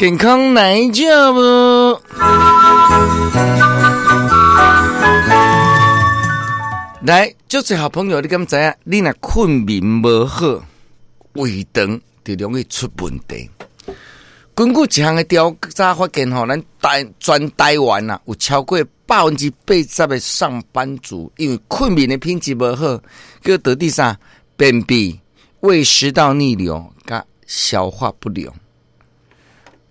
健康來食無？來，足濟好朋友，你敢知影？你若睏眠無好，胃腸就容易出問題。根據一項的調查發現，吼，咱台全台灣啊，有超過80%的上班族，因為睏眠的品質無好，叫導致啥？便秘、胃食道逆流、佮消化不良。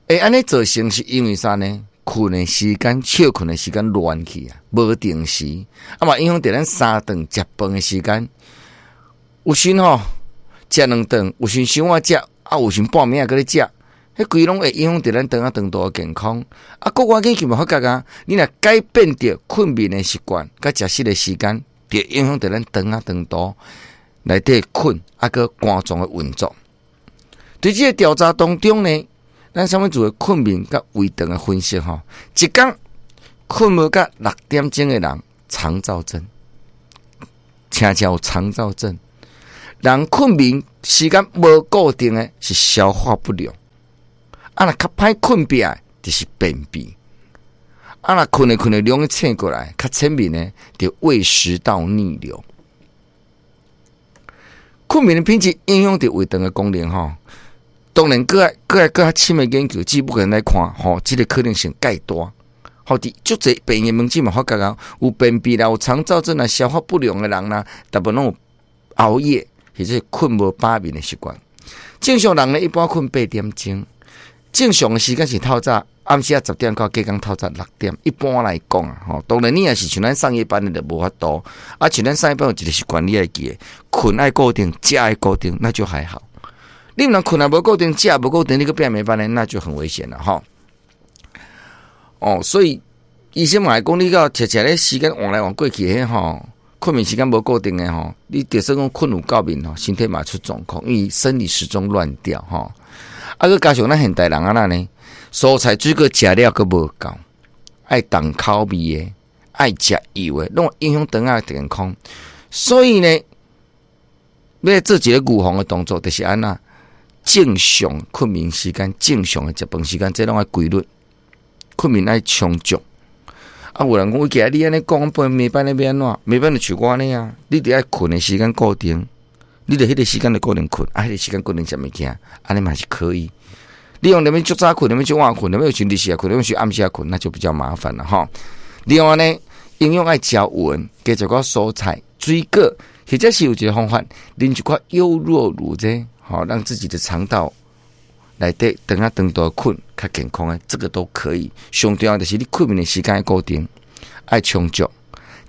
欸，按呢造成是因為啥呢？睏的時間、歇睏的時間亂去啊，無定時，啊嘛影響著咱三頓食飯的時間。有時吼食兩頓，有時傷晚食，啊有時半暝仔閣咧食，彼規攏會影響著咱腸仔腸道的健康。啊，國外研究嘛發覺啊，你若改變著睏眠的習慣，佮食食的時間，就影響著咱腸仔腸道內底菌，啊閣肝臟的運作。佇這个調查當中呢，咱啥物做睏眠佮胃腸的分析吼，一工睏無甲6點鐘的人，腸躁症，誠正有腸躁症。人睏眠時間無固定的，是消化不良。啊，若較歹睏壁的，就是便秘。啊，若睏咧睏咧，容易醒過來，較淺眠的，就胃食道逆流。睏眠的品質影響著胃腸的功能吼。當然，閣愛閣愛閣較深的研究，只不過來看吼，這个可能性蓋大。吼，佇足濟病院門診嘛發覺啊，有便秘啦，有腸躁症啦，消化不良的人啦，大部分攏有熬夜或者睏無飽眠的習慣。正常人呢，一般睏8點鐘，正常的時間是透早暗時仔10點到隔工透早6點。一般來講啊，吼，當然你若是像咱上夜班的就無法度。啊，像咱上夜班有一个習慣，你愛記得，睏愛固定，食愛固定，那就還好。你毋通睏也無固定，食也無固定，你閣變沒班呢，那就很危險了吼。哦，所以醫生嘛會講，你到常常咧時間換來換過去，彼吼，睏眠時間無固定的吼，你就算講睏有夠眠吼，身體嘛出狀況，因為生理時鐘亂掉吼。啊，閣加上咱現代人按怎呢？蔬菜水果食了閣無夠，愛重口味的，愛食油的，攏會影響腸仔健康。所以呢，欲來做一个預防的動作，就是按怎？正常睏眠時間，正常的食飯時間，這攏愛規律。睏眠愛充足。啊，有人講，我記得你按呢講，半暝班咧欲按怎？暝班就像我按呢啊，你著愛睏的時間固定，你著彼个時間就固定睏，啊，彼个時間固定食物件，按呢嘛是可以。你用連欲足早睏，連欲足晚睏，連欲有時日時睏，連欲是暗時睏，那就比較麻煩了吼。另外呢，營養愛食勻，加一寡蔬菜、水果，或者是有一个方法，啉一寡優酪乳這吼，讓自己的腸道內底腸仔腸道菌較健康的，這個都可以。上重要就是你睏眠的時間愛固定，愛充足，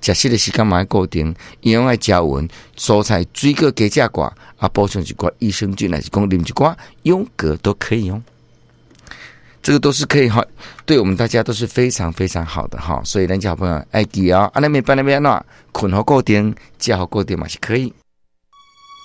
食食的時間嘛愛固定，營養愛食勻，蔬菜水果加食寡，啊，補充一寡益生菌，還是講啉一寡優格都可以哦。這個都是可以哈，對我們大家都是非常非常好的哈。所以咱家好朋友愛記哦，按呢暝班欲按怎，睏好固定，食好固定嘛是可以。